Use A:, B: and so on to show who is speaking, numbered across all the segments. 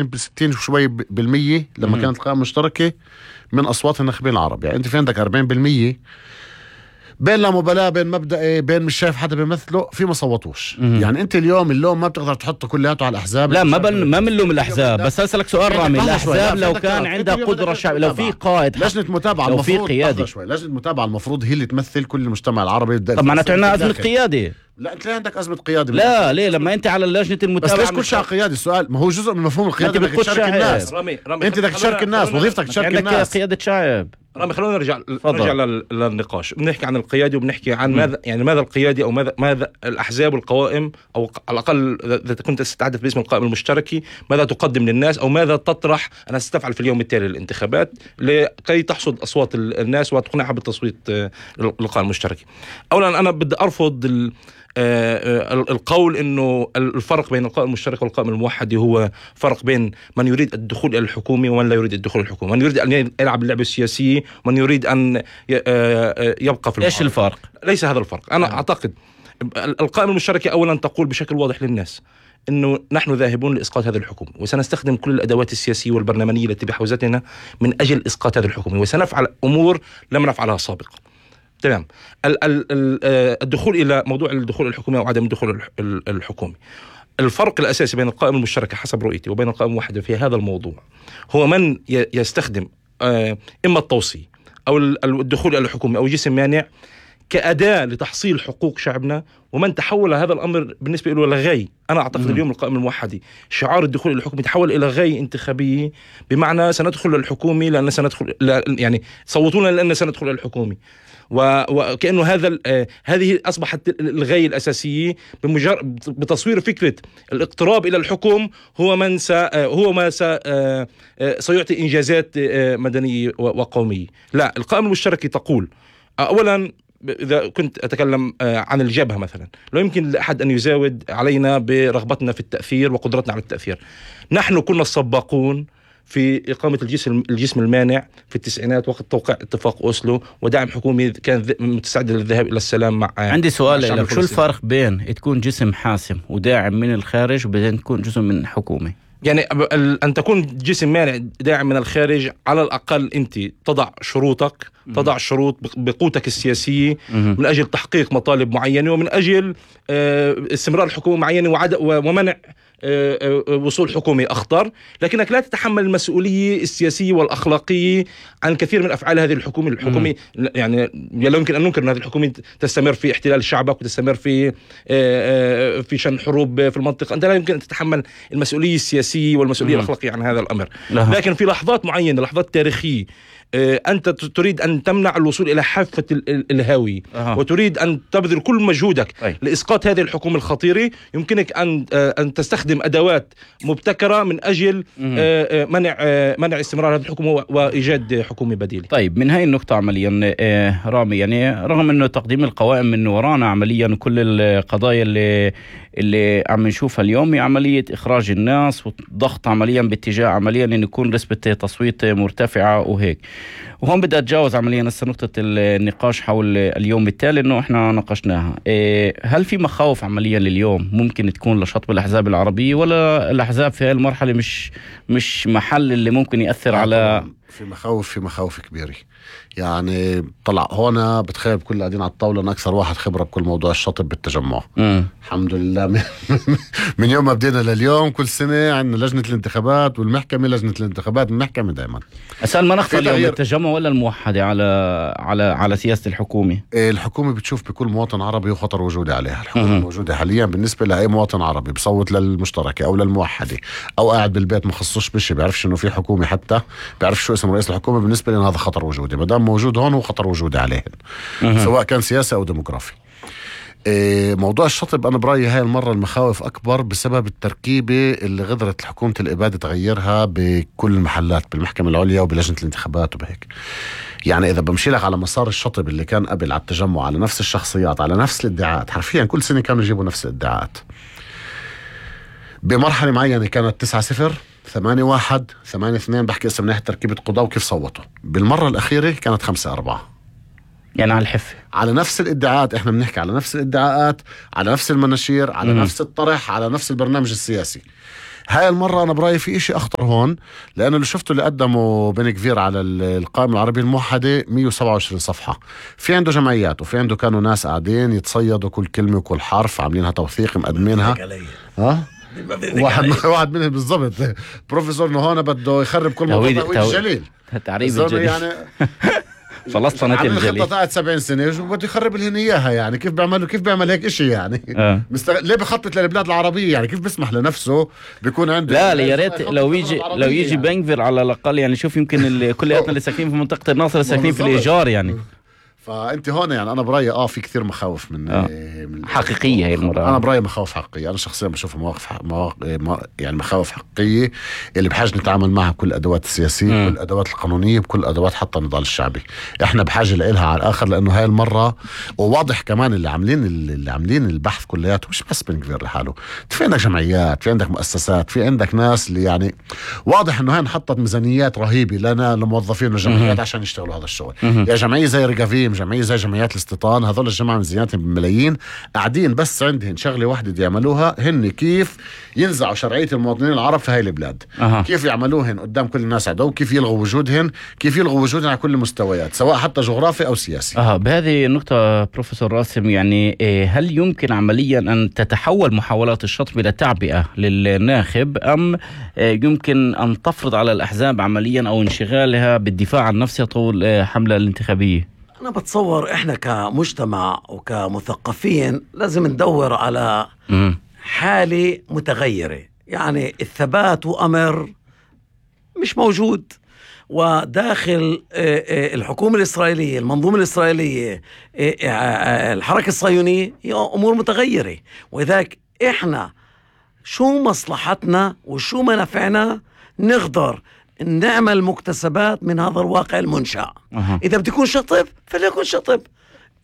A: ب60 وشوي بالمية لما كانت القائمة المشتركة من أصوات الناخبين العرب. يعني أنت في عندك 40% بين لا مبالاة، بين مبدئي، بين مش شايف حدا بيمثله، في ما صوتوش. يعني أنت اليوم اللوم ما بتقدر تحطه كلياته على الأحزاب.
B: لا ما بنلوم الأحزاب، بس أسألك سؤال رامي. الأحزاب لو كان عندها قدرة شعبية، لو في قائد،
A: لجنة متابعة،
B: لو في قيادة
A: شوي لجنة متابعة المفروض هي اللي تمثل كل المجتمع العربي.
B: طب معناته عندنا أزمة قيادة.
A: لا انت عندك ازمه قياده.
B: لا ليه؟ لما انت على لجنه المتابعه،
A: بس ليش كل شيء قيادي؟ السؤال ما هو جزء من مفهوم القياده، بدك تشارك الناس.
C: رامي
A: انت بدك تشارك الناس، وظيفتك تشارك الناس.
B: قياده شعب.
C: رامي خلونا نرجع للنقاش. بنحكي عن القيادي وبنحكي عن ماذا القيادي او ماذا الاحزاب والقوائم، او على الاقل اذا كنت تتحدث باسم القائمه المشتركه، ماذا تقدم للناس او ماذا تطرح انها ستفعل في اليوم التالي للانتخابات لكي تحصد اصوات الناس وتقنعها بالتصويت للقائمه المشتركه. اولا انا بدي ارفض القول انه الفرق بين القائمه المشتركه والقائمه الموحده هو فرق بين من يريد الدخول الى الحكومه ومن لا يريد الدخول الى الحكومه، من يريد ان يلعب اللعبه السياسيه ومن يريد ان يبقى في
B: ايش الفرق؟
C: ليس هذا الفرق. انا اعتقد القائمه المشتركه اولا تقول بشكل واضح للناس انه نحن ذاهبون لاسقاط هذه الحكومة، وسنستخدم كل الادوات السياسيه والبرلمانيه التي بحوزتنا من اجل اسقاط هذه الحكومة، وسنفعل امور لم نفعلها سابقا. تمام. الدخول الى موضوع الدخول الحكومي او عدم الدخول الحكومي، الفرق الاساسي بين القائمه المشتركه حسب رؤيتي وبين القائمه الموحده في هذا الموضوع هو من يستخدم اما التوصي او الدخول الى الحكومه او جسم مانع كأداة لتحصيل حقوق شعبنا، ومن تحول هذا الأمر بالنسبة له لغاية. أنا أعتقد اليوم القائمة الموحدة شعار الدخول إلى الحكومة تحول إلى غاية انتخابية، بمعنى سندخل للحكومة لأن سندخل، يعني صوتونا لأن سندخل إلى الحكومة، وكأنه هذه أصبحت الغاية الأساسية. بتصوير فكرة الاقتراب إلى الحكم هو ما سيعطي إنجازات مدنية وقومية. لا، القائمة المشتركة تقول أولا، إذا كنت أتكلم عن الجبهة مثلا، لا يمكن لأحد أن يزاود علينا برغبتنا في التأثير وقدرتنا على التأثير. نحن كنا السباقون في إقامة الجسم المانع في التسعينات وقت توقيع اتفاق أوسلو ودعم حكومي كان متسعد للذهاب إلى السلام مع.
B: عندي سؤال لك، شو الفرق بين تكون جسم حاسم وداعم من الخارج وبين تكون جسم من حكومة؟
C: يعني أن تكون جسم مانع داعم من الخارج، على الأقل أنت تضع شروطك، تضع شروط بقوتك السياسية من أجل تحقيق مطالب معينة ومن أجل استمرار حكومة معينة ومنع وصول حكومي أخطر، لكنك لا تتحمل المسؤولية السياسية والأخلاقية عن كثير من أفعال هذه الحكومة. يعني لا يمكن أن ننكر أن هذه الحكومة تستمر في احتلال شعبك وتستمر في شن حروب في المنطقة. أنت لا يمكن أن تتحمل المسؤولية السياسية والمسؤولية الأخلاقية عن هذا الأمر. لكن في لحظات معينة، لحظات تاريخية، أنت تريد أن تمنع الوصول إلى حافة الهاوية وتريد أن تبذل كل مجهودك لإسقاط هذه الحكومة الخطيرة، يمكنك أن تستخدم أدوات مبتكرة من أجل منع استمرار هذه الحكومة وإيجاد حكومة بديلة.
B: طيب، من هاي النقطة عمليا رامي، يعني رغم أنه تقديم القوائم من ورانا عمليا وكل القضايا اللي عم نشوفها اليوم هي عملية إخراج الناس وضغط عمليا باتجاه عمليا أن يكون نسبة تصويت مرتفعة وهيك. وهون بدي أتجاوز عمليا هسه نقطة النقاش حول اليوم التالي إنه إحنا ناقشناها. هل في مخاوف عمليا لليوم ممكن تكون لشطب الأحزاب العربية، ولا الأحزاب في هذه المرحلة مش محل اللي ممكن يأثر على؟
A: في مخاوف كبيرة. يعني طلع هون بتخيل كل قاعدين على الطاولة أنا أكثر واحد خبرة بكل موضوع الشطب بالتجمع. الحمد لله من يوم ما بدينا لليوم كل سنة عندنا لجنة الانتخابات والمحكمة، لجنة الانتخابات المحكمة دايما.
B: أسأل ما نخفى اليوم التجمع ولا الموحدة على سياسة الحكومة؟
A: الحكومة بتشوف بكل مواطن عربي وخطر وجودي عليها. الحكومة موجودة حاليا بالنسبة لأي مواطن عربي بصوت للمشتركة أو للموحدة أو قاعد بالبيت مخصصش بشي بيعرفش إنه في حكومة، حتى بيعرف شو اسم رئيس الحكومة. بالنسبة لنا هذا خطر وجودي، مدام موجود هون هو خطر وجودي عليهن، سواء كان سياسي أو ديموغرافي. موضوع الشطب أنا برأيي هاي المرة المخاوف أكبر بسبب التركيبة اللي غدرت حكومة الإبادة تغيرها بكل المحلات، بالمحكمة العليا وبلجنة الانتخابات وبهيك. يعني إذا بمشي لك على مسار الشطب اللي كان قبل على التجمع، على نفس الشخصيات، على نفس الادعاءات، حرفيا كل سنة كانوا يجيبوا نفس الادعاءات. بمرحلة معينة كانت 9-0 8-1 8-2، بحكي اسم ناحية تركيبة قضاء وكيف صوتوا. بالمرة الأخيرة كانت 5-4،
B: يعني على الحفة،
A: على نفس الادعاءات. احنا بنحكي على نفس الادعاءات، على نفس المناشير، على نفس الطرح، على نفس البرنامج السياسي. هاي المرة أنا برأيي في إشي أخطر هون، لأنه اللي شفته اللي قدمه بن كفير على القائمة العربية الموحدة 127 صفحة. في عنده جمعيات وفي عنده كانوا ناس قاعدين يتصيدوا كل كلمة وكل حرف، عاملينها توثيق مقدمينها. واحد منهم بالضبط بروفيسور نهونا بده يخرب كل موضوع الجليل.
B: تعريب الجليل يعني فلسطنة الجليل
A: خطة قاعد 70 سنة وبده يخرب لهن إياها. يعني كيف بيعمل هيك إشي يعني؟ ليه بخطط للبلاد العربية؟ يعني كيف بيسمح لنفسه بيكون عنده؟
B: لا يا ريت لو يجي يعني. بنكفير على الأقل يعني شوف يمكن كلياتنا اللي ساكنين في منطقة الناصر ساكنين في الإيجار يعني. فأنت
A: هون يعني أنا برأيي في كثير مخاوف من
B: حقيقية هي المرة.
A: أنا برأيي مخاوف حقيقية. أنا شخصيا بشوفها يعني مخاوف حقيقية اللي بحاجة نتعامل معها بكل الأدوات السياسية بكل الأدوات القانونية بكل الأدوات حتى النضال الشعبي. إحنا بحاجة لإلها على الآخر، لأنه هاي المرة وواضح كمان اللي عاملين البحث كلياته مش بس بن كفير لحاله. في عندك جمعيات، في عندك مؤسسات، في عندك ناس اللي يعني واضح إنه هاي انحطت ميزانيات رهيبة لنا لموظفين الجمعيات عشان يشتغلوا هذا الشغل. يا جمعية زي رقافيم، جمعية زي جمعيات الاستيطان، هذول الجماعة ميزانياتهم بالملايين قاعدين بس عندهم شغلة واحدة دي يعملوها، هن كيف ينزعوا شرعية المواطنين العرب في هاي البلاد. كيف يعملوهن قدام كل الناس عدو، كيف يلغوا وجودهن على كل المستويات سواء حتى جغرافي أو سياسي.
B: بهذه النقطة بروفيسور راسم يعني هل يمكن عمليا أن تتحول محاولات الشطب إلى تعبئة للناخب، أم يمكن أن تفرض على الأحزاب عمليا أو انشغالها بالدفاع عن نفسها طول حملة الانتخابية؟
D: أنا بتصور إحنا كمجتمع وكمثقفين لازم ندور على حالة متغيرة. يعني الثبات وأمر مش موجود، وداخل الحكومة الإسرائيلية، المنظومة الإسرائيلية، الحركة الصهيونية هي أمور متغيرة. ولذلك إحنا شو مصلحتنا وشو منافعنا نقدر نعمل مكتسبات من هذا الواقع المنشأ. إذا بده يكون شطب فليكن شطب.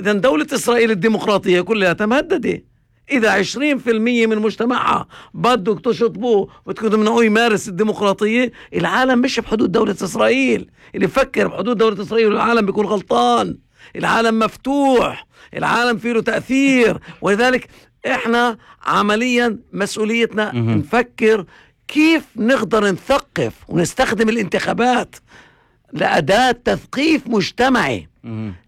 D: إذا دولة إسرائيل الديمقراطية كلها مهددة. إذا 20% من مجتمعها بدك تشطبوه وتمنعوه يمارس الديمقراطية، العالم مش بحدود دولة إسرائيل. اللي بفكر بحدود دولة إسرائيل العالم بيكون غلطان. العالم مفتوح، العالم فيه له تأثير. ولذلك إحنا عمليا مسؤوليتنا نفكر كيف نقدر نثقف ونستخدم الانتخابات لأداة تثقيف مجتمعي،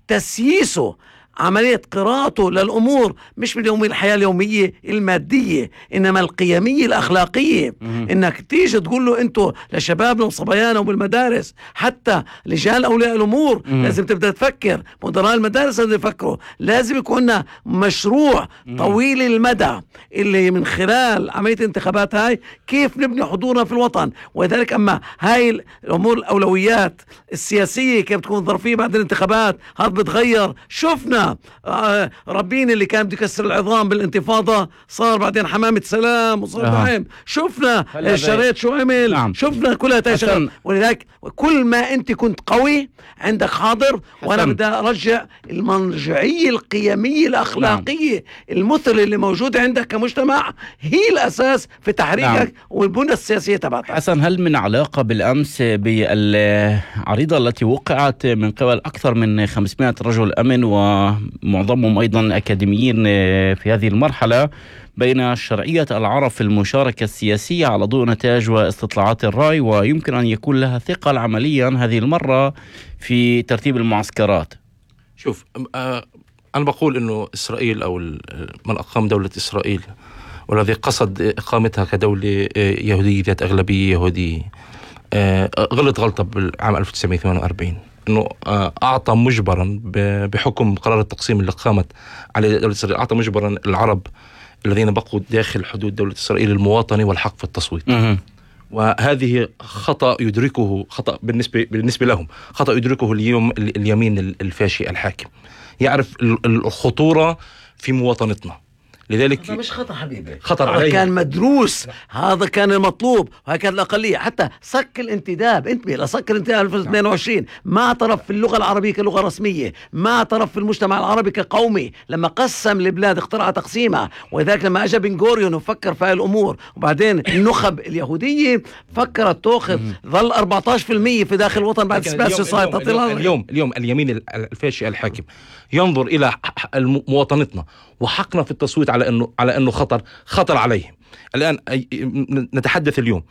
D: تسييسه، عملية قراءته للأمور مش باليومية الحياة اليومية المادية، إنما القيمية الأخلاقية. إنك تيجي تقول له أنتوا لشبابنا وصبيانا وبالمدارس، حتى لجان أولياء الأمور لازم تبدأ تفكر، مدراء المدارس لازم يفكروا، لازم يكون لنا مشروع طويل المدى اللي من خلال عملية الانتخابات هاي كيف نبني حضورنا في الوطن. وذلك أما هاي الأمور الأولويات السياسية كيف تكون ظرفية بعد الانتخابات هذا بتغير. شفنا ربين اللي كان بده يكسر العظام بالانتفاضة صار بعدين حمامة سلام وصار دعم. شفنا الشريط شو عمل. شفنا كلها تشغل. ولذلك كل ما انت كنت قوي عندك حاضر، وانا بدي ارجع المرجعية القيمية الاخلاقية المثل اللي موجودة عندك كمجتمع هي الاساس في تحريكك والبنى السياسية تبعتك.
B: حسن، هل من علاقة بالامس بالعريضة التي وقعت من قبل اكثر من 500 رجل امن ومعظمهم أيضا أكاديميين في هذه المرحلة بين شرعية العرب في المشاركة السياسية على ضوء نتائج واستطلاعات الرأي، ويمكن أن يكون لها ثقل عمليا هذه المرة في ترتيب المعسكرات؟
C: شوف، أنا بقول أنه إسرائيل أو من أقام دولة إسرائيل والذي قصد إقامتها كدولة يهودية ذات أغلبية يهودية غلط غلطة بالعام 1948، انه اعطى مجبرا بحكم قرار التقسيم اللي قامت على دولة اسرائيل، اعطى مجبرا العرب الذين بقوا داخل حدود دولة اسرائيل المواطنة والحق في التصويت. وهذه خطأ يدركه، خطأ بالنسبة لهم، خطأ يدركه اليوم اليمين الفاشي الحاكم، يعرف الخطورة في مواطنتنا. لذلك
D: هذا مش خطأ حبيبي،
C: خطر
D: هذا كان مدروس، هذا كان المطلوب، وهي كانت الأقلية. حتى صك الانتداب، انتبه لصك الانتداب 2022 ما اعترف في اللغة العربية كلغة رسمية، ما اعترف في المجتمع العربي كقومي لما قسم البلاد، اخترع تقسيمها. وذلك لما اجى بن غوريون وفكر في هاي الأمور، وبعدين النخب اليهودية فكرت تأخذ ظل 14% في داخل الوطن بعد
C: اليوم اليمين الفاشي الحاكم ينظر إلى مواطنتنا وحقنا في التصويت على على انه خطر عليهم. الان نتحدث اليوم